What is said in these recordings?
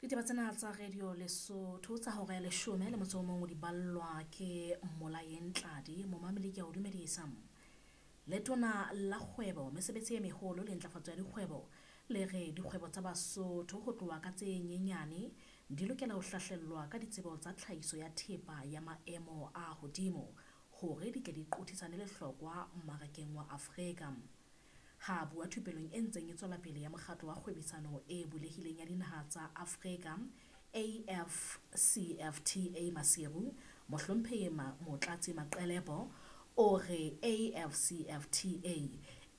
Ditaba tsena tsa Radio Lesotho tsa hora ya leshome le motso o mong o di ballwa ke Molaeng Tladi. Momameli ke a o dumedisa. Letona la kgwebo, mesebetsi e meholo le ntlafatso ya dikgwebo le re dikgwebo tsa Basotho ho tloha ka tse nyenyane di lokela ho hlahlellwa ka ditsebo tsa tlhahiso ya thepa ya maemo a hodimo hore di tle di qothisane lehlokwa mmarakeng wa Afrika. Ha a bua thupelong e ntseng e tswela pele ya Mokgatlo wa Kgwebisano e Bulehileng ya Dinaha tsa Afrika, AfCFTA Maseru, Mohlomphehi Motlatsi Maqelepo o re AfCFTA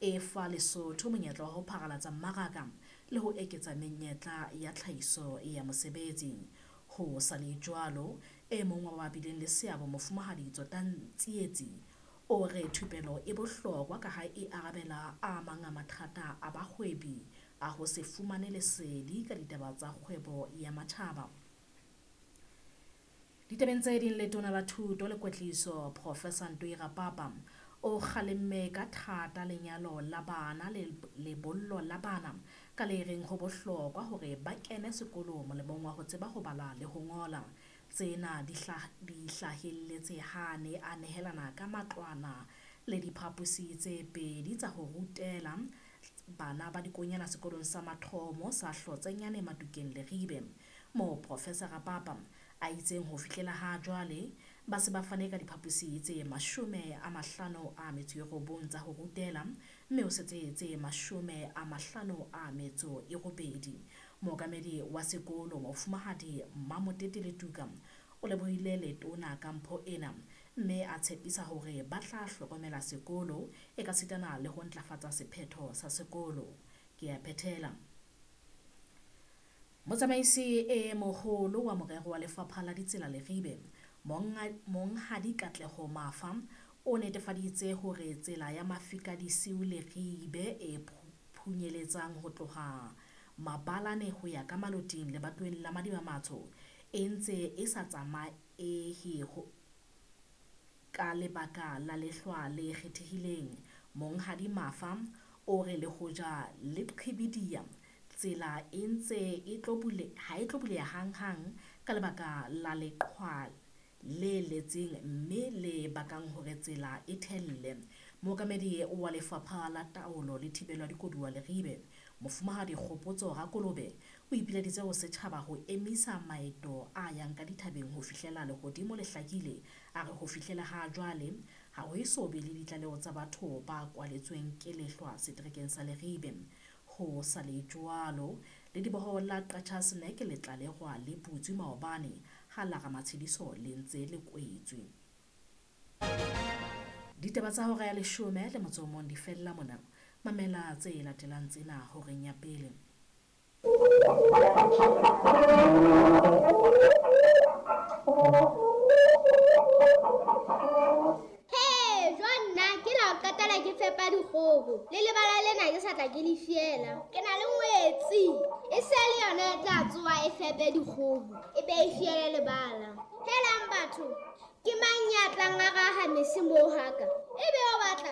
e fa Lesotho monyetla wa ho pharalatsa mmaraka le ho eketsa menyetla ya tlhahiso ya mosebetsi. Ho sa le jwalo, e mong wa ba bileng le seabo Mofumahadi Tsotang Tsietsi o re thupelo e bohlokwa ka ha e arabela a mang a mathata a bahwebi a ho se fumane lesedi ka ditaba tsa kgwebo ya matjhaba. Ditabeng tse ding, letona la thuto le kwetliso Professor Ntoi Rapapa o kgalemme ka thata lenyalo la bana le lebollo la bana ka le reng ho bohlokwa hore ba kene sekolo molemong wa ho tseba ho bala le ho ngola. Tsena di hlahelletse ha ne a nehelana ka matlwana le diphaposi tse pedi tsa ho rutela bana ba dikonyana sekolong sa mathomo sa Hlotsenyane Matukeng Leribe, moo Professor Rapapa a itseng ho fihlela ha jwale ba se ba fane ka diphaposi tse 59 tsa ho rutela, mme ho setse tse 58. Mookamedi wa sekolo Mofumahadi Mamotete Letuka o lebohile letona ka mpho ena, mme a tshepisa hore ba tla hlokomela sekolo e ka sitana le ho ntlafatsa sephetho sa sekolo. Ke a phethela. Motsamaisi e moholo wa morero wa lefapha la ditsela Leribe, Monghadi Katleho Mafa, o netefaditse hore tsela ya Mafika Disiu Leribe e phunyeletsang ho tloha Mabalane ho ya ka Maloting lebatoweng la Madiba-Matsho e ntse e sa tsamaehe ka lebaka la lehlwa le kgethehileng. Monghadi Mafa o re le hoja le qhibidiya, tsela e ntse e tlo ha e tlo buleha hanghang ka lebaka la leqhwa le letseng mme le bakang hore tsela e thelle. Mookamedi wa lefapha la taolo le thibelo ya dikoduwa Leribe, Mofumahadi Kgopotso Rakolobe, o ipileditse ho setjhaba ho emisa maeto a yang ka dithabeng ho fihlela lehodimo le hlakile. A re ho fihlela ha jwale ha ho eso be le ditlaleho tsa batho ba kwaletsweng ke lehlwa seterekeng sa Leribe. Ho sa le jwalo, lediboho la Qacha's Nek le tlalehwa le butswe maobane ha la Ramatshediso le ntse le kwetswe. Ditaba tsa hora ya 11 di fella mona. Mamela tse latelang tsena horeng ya pele. Ke fepa dikgoho le lebala lena ke sa tla ke le fiela. Ke na le ngwetsi e se le yona e tla tsoha e fepe dikgoho e be e fiele lebala. Helang batho, ke mang ya tlang a raha mese moo haka? E be o batla